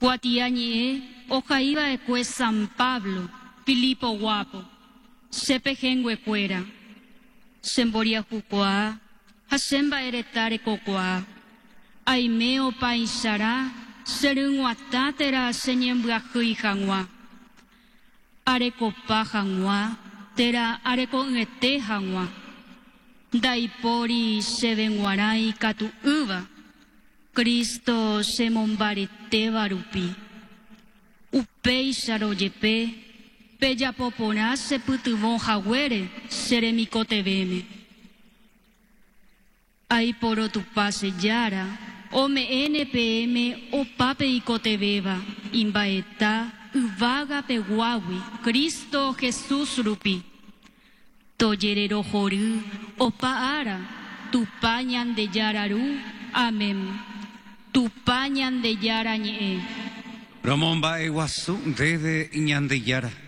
Kuatiañe'ẽ ohaiva'ekue San Pablo, Filipo guápo, che pehẽnguekuéra, che mboriahukuaa ha che mba'ereta rekokuaa, aime opaicharã che ryg̃uatã térã che ñembyahýi hag̃ua, arekopa hag̃ua térã areko'ỹete hag̃ua. Ndaipóri chéve g̃uarã ikatu'ỹva. Cristo chemombaretéva rupi. Upéicharõ jepe, pejapo porã chepytyvõ haguére che remikotevẽme. Aiporo Tupã che Jára ome'ẽne peẽme opa peikotevẽva imba'eta yvága peguágui Cristo Jesús rupi. Tojererohory opa ára Tupã Ñandejára Ru. Amén. Tupã Ñandejára ñe'ẽ. Romomba'eguasu ndéve Ñandejára.